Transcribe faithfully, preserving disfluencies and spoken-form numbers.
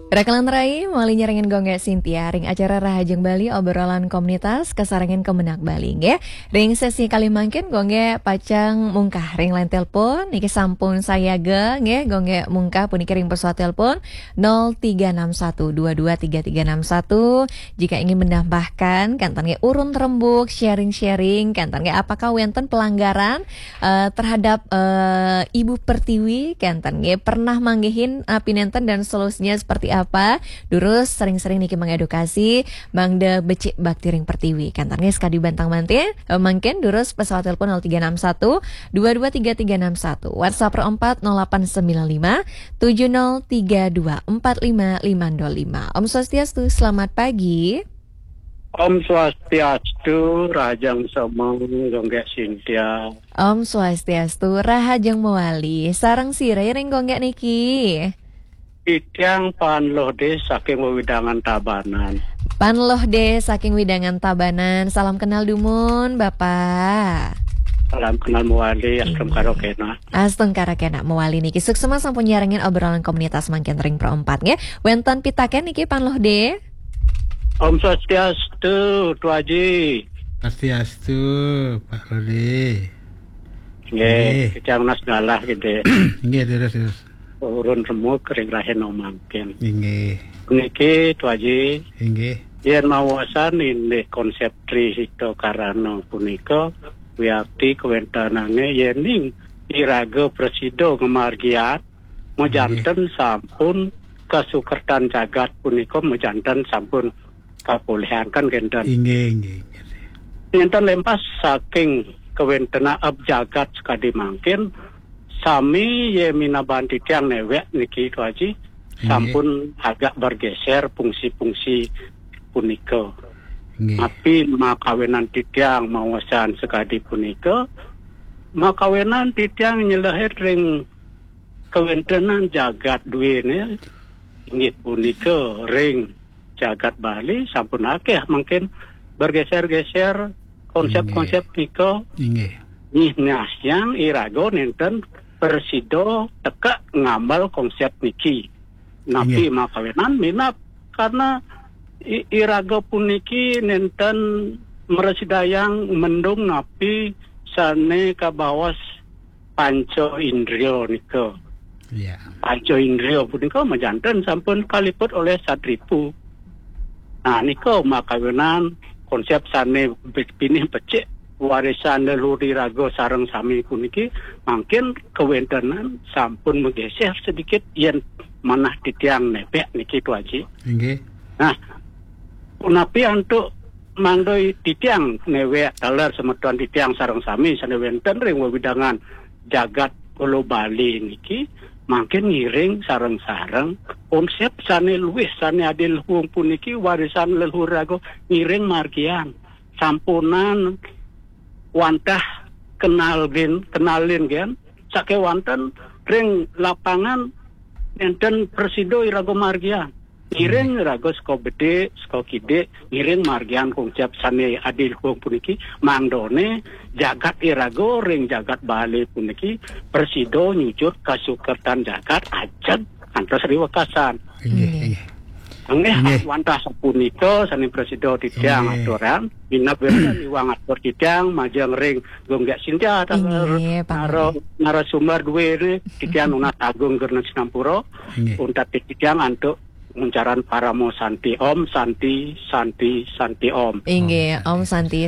Rakalan rai, mawali nyarengin Gung Gek Sintia ring acara Rahajeng Bali, obrolan komunitas kasarengin Kemenag Bali, nggih. Ring sesi kalih mangkin Gung Gek pacang mungkah ring line telepon, niki sampun sayaga, nggih, Gung Gek mungkah puniki ring pesawat telepon nol tiga enam satu dua dua tiga tiga enam satu. Jika ingin menambahkan, kenten nggih urun rembuk, sharing-sharing, kenten nggih apakah wenten pelanggaran eh, terhadap eh, Ibu Pertiwi, kenten nggih pernah manggihin eh, pinenten dan solusinya seperti apa. Durus sering-sering niki mengedukasi, mangda becik bakti ring Pertiwi. Kenten nggih sekadi bantang manten, eh, mangkin durus pesawat telepon nol tiga enam satu dua dua tiga tiga enam satu. WhatsApp empat nol delapan sembilan lima tujuh nol tiga dua empat lima lima nol lima. Om Swastiastu, selamat pagi. Om Swastiastu, Rahajeng Semeng, Gung Gek Sintia. Om Swastiastu, Rahajeng mawali. Sareng sira ring Gung Gek niki? Titiang Pan Loh Dé saking wewidangan Tabanan. Pan Loh Dé saking wewidangan Tabanan. Salam kenal dumun, Bapak. Salam kenal mawali, astungkara kenak. Astungkara kenak mawali niki. Suksma sampun nyarengin obrolan komunitas mangkin ring Pro empat nggih. Wenten pitaken niki Pan Loh Dé? Om Swastiastu, Tu Aji. Swastiastu, Pak Loh Dé. Nggih, nggih. Kecang nas galah gitu. Nggih, terus, terus. Urun remuk ring rahina mangkin. Inggih. Niki, Tu Aji. Inggih. Yen mawasan indik konsep Tri Hita Karana punika, wiakti kawentenane yening iraga prasida ngamargian, majanten sampun kasukertan jagat punika, majanten sampun kapolihangken kenten. Inggih, inggih, inggih. Nenten lempas saking kawentenan jagat sakadi mangkin, sami ye minaban titiang newek niki, Tu Aji, inggih, sampun agak bergeser fungsi-fungsi punika. Inggih. Napi makawenan titiang mawasan sakadi punika, makawenan titiang nyelehin ring kawentenan jagat duene, inggih punika ring jagat Bali sampun akeh mangkin bergeser-geser konsep-konsep, inggih, nika. Inggih. Nggih, nah, yang iraga nenten prasida teka ngambil konsep niki. Napi, inggih, makawenan minab karena i-, iraga puniki nenten mrasidayang mendung napi sane kabaos panca indria nika. Iya. Panca indria punika majanten sampun kaliput oleh satripu. Nah, nika makawenan konsep sane be-, pinih becik warisan leluhur iraga sareng sami puniki mangkin kawentenan sampun mageser sedikit yen manah titiang nepek niki, Tu Aji. Inggih. Nah, punapi antuk mangda titiang newek taler semeton titiang sareng sami sane wenten ring wewidangan jagat Pulo Bali niki mangkin ngiring sareng-sareng konsep sane luwih sane adi luhung puniki warisan leluhur iraga ngiring margian. Sampunang wantah kenal gen, kenalin gen, sakewanten ring lapangan nenten prasida iraga margian. Ngiring, hmm, iraga saka bedik, saka kidik, ngiring margian konsep sane adi luhung puniki, mangdane jagat iraga ring jagat Bali puniki prasida nyujut kasukertan jagat ajeg kantos riwekasan. Inggih, inggih. Inggih. Inggih, wantah sapunika sane prasida titiang, inggih, aturang, minab wenten iwang atur titiang majeng ring Gung Gek Sintia, inggih, Pak nara-, Menteri, narasumber duene titiang nunas agung geng sinampura. Inggih. Untat titiang antuk nguncaran parama santi. Om Santi, Santi, Santi Om. Inggih, Om Santi.